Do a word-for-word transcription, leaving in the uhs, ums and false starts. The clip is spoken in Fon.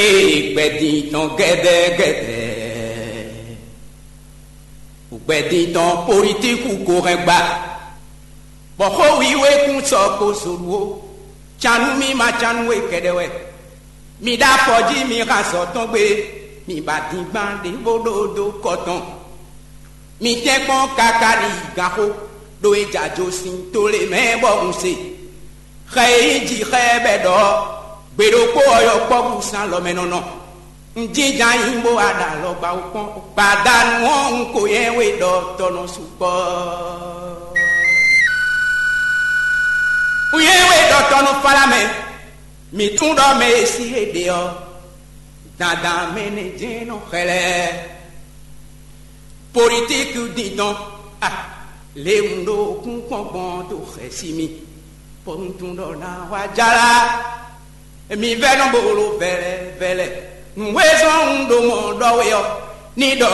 Ee, gbɛdín tɔn gɛdɛgɛdɛ, gbɛdín tɔn politiku ko hɛn gba, bɔ xó wiwe kún sɔ ko zolu ó. Canu mì ma canu we kɛɖɛ wɛ. Mi ɖo afɔ jí mi hán azɔ̌ tɔn gbé, mi ba dingban ɖěvo ɖó dó kɔ tɔn. Mi tɛ́nkpɔ́n káká ní yi gǎnxó, ɖó é jɛ ajo sín to lě mɛ bɔ un se. Xɛ e nyí jǐ xɛ bɛ́ ɖɔ gbe ɖokpó ɔ́ yɔkpɔ́vú sín alɔ mɛ nɔ nɔ. Un jínjɔ́n ayǐ bó wá ɖo alɔgba wú kpɔ́n. Gbadanu ɔ́, un ko nyɛ we ɖɔ tɔ nɔ sukpɔ́. Un nyɛ we ɖɔ tɔ nɔ fá lá mɛ. Mǐ tunwun ɖɔ mɛ e sí e ɖe ɔ́, dandan mɛ nɛ́ jɛ́n nɔ xlɛ́. Politiki din tɔn, a, lě un ɖo kúnkpɔ́n gbɔn dó xɛsi mì, bɔ un tunwun ɖɔ ná wá jálá. Mi vɛ́ nɔ bolo vɛlɛ vɛlɛ. Nǔ e zɔ́n un ɖo mɔ̌ ɖɔ we ɔ́, ní ɖɔ